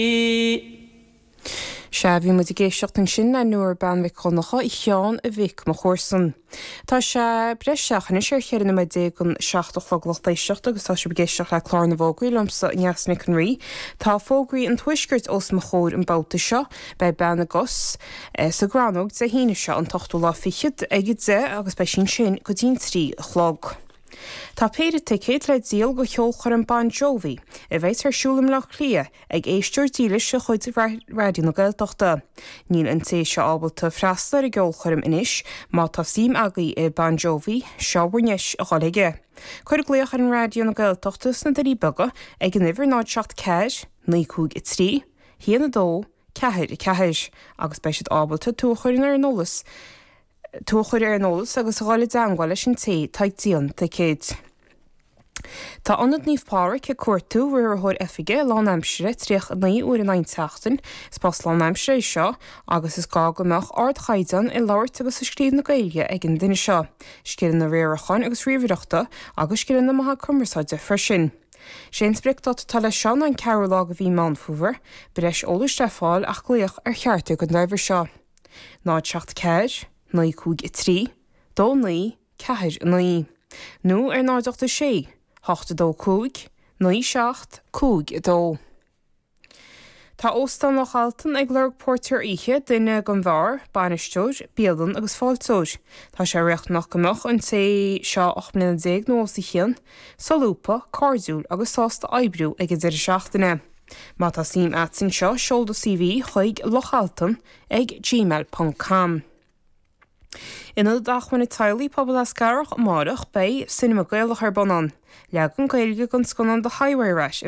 Sea, bhí muid ag éisteacht ansin le Nóra Bean Mhic Dhonncha, a Sheáin a mhic mo chomharsan. Tá sé breis isteach anois ar 14 noiméad don 7 a chlog lucht éisteachta agus tá sibh ag éisteacht le Clár na bhFógraí liomsa, Neasa Nic an Rí. Tá fógraí an Tuaiscirt os mo chomhair an babhta seo. Beidh Bean na gCos sa gCrannóg Dé hAoine seo, an t-ochtú lá fichead, ag 10 agus beidh sí ansin go dtí'n 3 a chlog. Tá péire ticéad le díol do cheolchoirm Bon Jovi, a bheas ar siúl i mBleá Cliath, ag éisteoir dílis de chuid Raidió na Gaeltachta. Níl an té seo ábalta freastal ar an gceolchoirm anois, má tá suim agaibh i Bon Jovi, seo bhur ndeis a dhul chuige. Cuir glaoch ar an Raidió na Gaeltachta sna Doirí Beaga ag an uimhir 0 7 4 9 5 3 1 2 4 4 agus beidh siad ábalta tú a chur ar an eolas tú a chur ar an eolas agus a dhul i dteangmháil leis an té atá ag díol na dticéad. Tá Ionad Naomh Pádraig ag cuartú riarthóir oifige lánaimsire 39 uair in aghaidh an tseachtain. Is post lánaimsire é seo agus is gá go mbeadh ardchaighdeán i labhairt agus i scríobh na Gaeilge ag an duine seo, scileanna riaracháin agus ríomhaireachta agus scileanna maithe cumarsáide freisin. Sé an spriocdáta atá leis seo ná an ceathrú lá de mhí Meán Fómhair. Breis eolais le fáil ach glaoch ar cheachtar den dá uimhir seo. 0 7 4 9 5 3 2 9 4 9 nó ar 0 8 6 8 2 5 9 7 5 2. Tá Óstán Loch Altan ag lorg póirtéir oíche, duine don bheár, bainisteoir, bialann agus fáilteoir. Tá sé riachtanach go mbeadh an té seo 18 mbliana nó os a chionn, solúbtha, cairdiúil agus sásta oibriú ag an deireadh seachtaine. Má tá suim a't anseo, seol do CV chuig lochaltan ag gmail ponc com. In Ionad Acmhainne Teaghlaigh Pobal Eascarrach amárach beidh Cinema Gaelach ar bun ann. Leagan Gaeilge den scannán The Highway Rat.